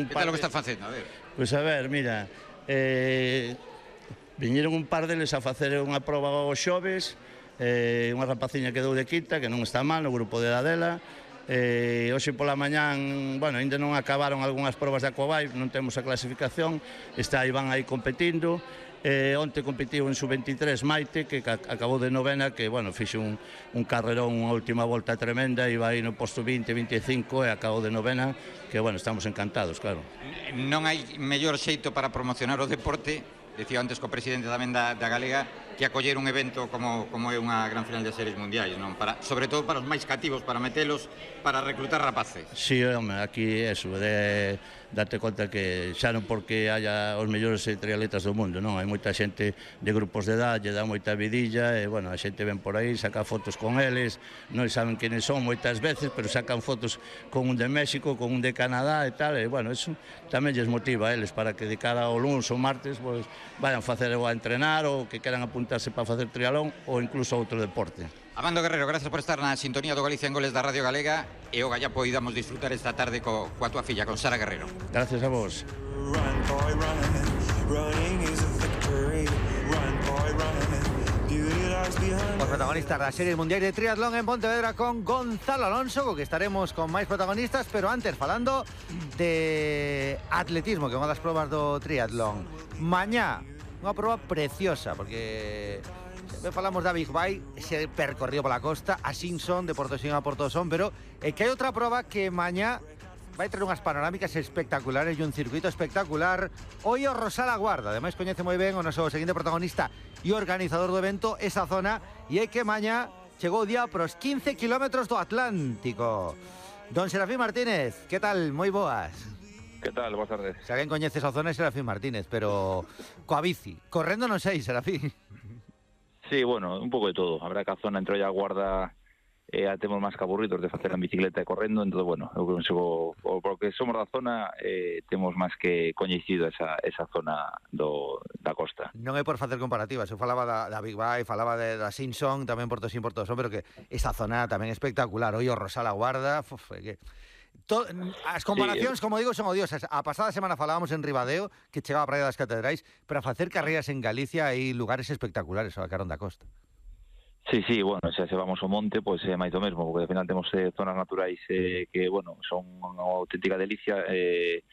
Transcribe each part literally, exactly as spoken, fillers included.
un Que tal par o que de... está facendo? A ver. Pois a ver, mira, eh, viñeron un par deles a facer unha proba aos xoves, eh, unha rapaciña quedou de quinta, que non está mal, no grupo de Adela. Eh, hoxe pola mañán, bueno, ainda non acabaron algunhas probas de Aquabai, non temos a clasificación, está Iván aí competindo. Eh, onte competiu en sub veintitrés Maite, que acabou de novena, que, bueno, fixe un, un carrerón, unha última volta tremenda, iba aí no posto vinte, veinticinco e acabou de novena, que, bueno, estamos encantados, claro. Non hai mellor xeito para promocionar o deporte, decía antes co presidente tamén da, da Galega, que acoller un evento como, como é unha gran final de series mundiais, non? Para, sobre todo para os máis cativos, para metelos, para reclutar rapaces. Si, sí, home, aquí eso, de date conta que xa non porque haya os mellores triatletas do mundo, non? Hai moita xente de grupos de edad, lle dá moita vidilla, e, bueno, a xente ven por aí, saca fotos con eles, non saben quenes son moitas veces, pero sacan fotos con un de México, con un de Canadá e tal, e, bueno, eso tamén lles motiva a eles para que de cara ao luns ou martes, pues, vayan facer ou a entrenar ou que queran apuntarse para facer trialón ou incluso outro deporte. Amando Guerrero, gracias por estar na sintonía do Galicia en Goles da Radio Galega e o galla poidamos disfrutar esta tarde co, coa tua filla, con Sara Guerrero. Gracias a vos. Os protagonistas das series mundiais de triatlón en Pontevedra con Gonzalo Alonso, co que estaremos con máis protagonistas, pero antes falando de atletismo, que é unha das probas do triatlón. Mañá, unha proba preciosa, porque sempre falamos da Big Bay, ese percorrido pola costa, a Simpson, de Portosín a Portosón, pero é que hai outra proba que mañá vai traer unhas panorámicas espectaculares e un circuito espectacular. Hoy o Rosala Guarda, ademais coñece moi ben o noso seguinte protagonista e organizador do evento, esa zona, e é que mañá chegou o día pros quince kilómetros do Atlántico. Don Serafín Martínez, que tal? Moi boas. Que tal? Boas tardes. Se alguén coñece esa zona é Serafín Martínez, pero coa bici. Correndo non sei, Serafín. Sí, bueno, un pouco de todo. A verdad que a zona entre a Guarda eh, temos máis que aburridos de facer en bicicleta e correndo, entón, bueno, eu consigo, porque somos da zona, eh, temos máis que coñecido esa, esa zona do, da costa. Non é por facer comparativas, eu falaba da, da Big Bay, falaba de, da Simpson, tamén Portosín, Portosón, pero que esa zona tamén é espectacular. Hoy o Rosala Guarda, uf, que... To, as comparacións, sí, como digo, son odiosas. A pasada semana falábamos en Ribadeo, que chegaba a Praia das Catedrais, pero a facer carreiras en Galicia hai lugares espectaculares ao carón da costa. Sí, sí, bueno, xa se vamos ao monte, pois é máis do mesmo, porque ao final temos eh, zonas naturais eh, que, bueno, son unha auténtica delicia, eh,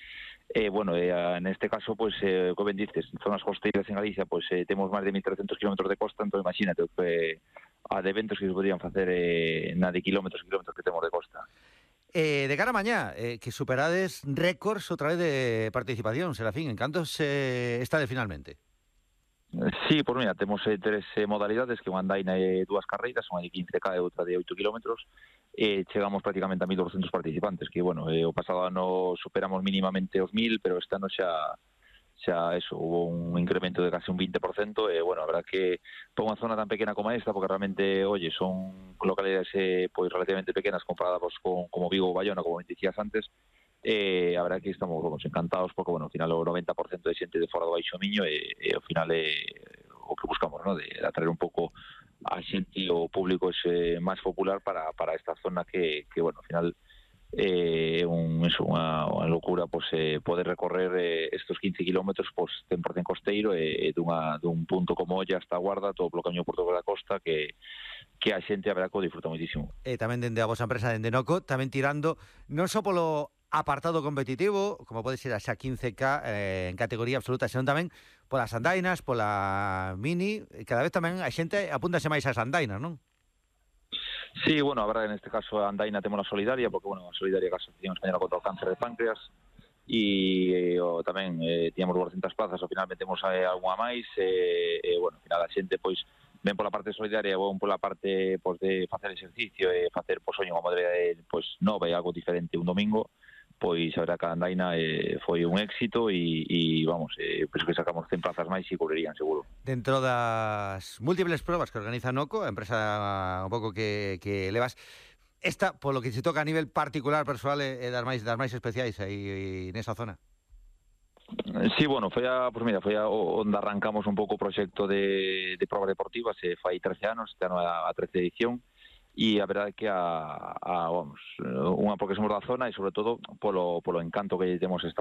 eh, bueno, eh, neste caso, pois, eh, como ben dices, zonas costeiras en Galicia, pois, eh, temos máis de mil trescentos kilómetros de costa, entón imagínate que a de eventos que se podrían facer eh, na de kilómetros e kilómetros que temos de costa. Eh, de cara a mañá, eh, que superades récords outra vez de participación, Serafín, en cantos eh, está de finalmente? Sí, pois mira, temos eh, tres eh, modalidades, que unha andaina e dúas carreiras, unha de quince ká e outra de oito kilómetros, e chegamos prácticamente a mil doscientos participantes, que, bueno, eh, o pasado ano superamos mínimamente os mil, pero este ano xa, xa eso, hubo un incremento de casi un vinte por cento, e, bueno, a verdad que para unha zona tan pequena como esta, porque realmente, oye, son localidades eh, pois relativamente pequenas comparadas con, como Vigo ou Bayona, como dicías antes, Eh, a verdade que estamos vamos, encantados porque, bueno, ao final o noventa por cento de xente de fora do Baixo Miño e, e ao final é o que buscamos, ¿no? De, de atraer un pouco a xente e o público ese máis popular para, para esta zona que, que bueno, ao final é eh, un, eso, unha, unha locura pois, eh, poder recorrer eh, estos quince kilómetros pois, cen por cento costeiro e eh, dunha, dun punto como Olla hasta a Guarda, todo polo camiño Porto da Costa, que que a xente a verdade que o disfruta moitísimo. E tamén dende a vosa empresa dende Noco, tamén tirando non só polo apartado competitivo, como pode ser a xa quince ká eh, en categoría absoluta, senón tamén polas andainas, pola mini, cada vez tamén a xente apúntase máis ás andainas, non? Sí, bueno, a verdade, neste caso a andaina temos a solidaria, porque, bueno, a solidaria que a Asociación Española contra o Cáncer de Páncreas, e eh, tamén eh, tíamos doscientas plazas, ao final metemos eh, algunha máis, e eh, eh, bueno, ao final a xente, pois, ven pola parte solidaria ou pola parte pois, de facer exercicio e facer, pois, oño, unha modalidade, pois, nova e algo diferente un domingo, pois a verdad que a andaina eh, foi un éxito e, e vamos, eh, penso que sacamos cen plazas máis e cubrirían seguro. Dentro das múltiples probas que organiza Noco, a empresa un pouco que, que levas, esta, polo que se toca a nivel particular, persoal, é das máis, das máis especiais aí nesa zona? Sí, bueno, foi a, pues mira, foi a onde arrancamos un pouco o proxecto de, de probas deportivas, eh, fai trece anos, este ano a, a trece edición, e a verdade é que a, a vamos, unha porque somos da zona e sobre todo polo, polo encanto que temos esta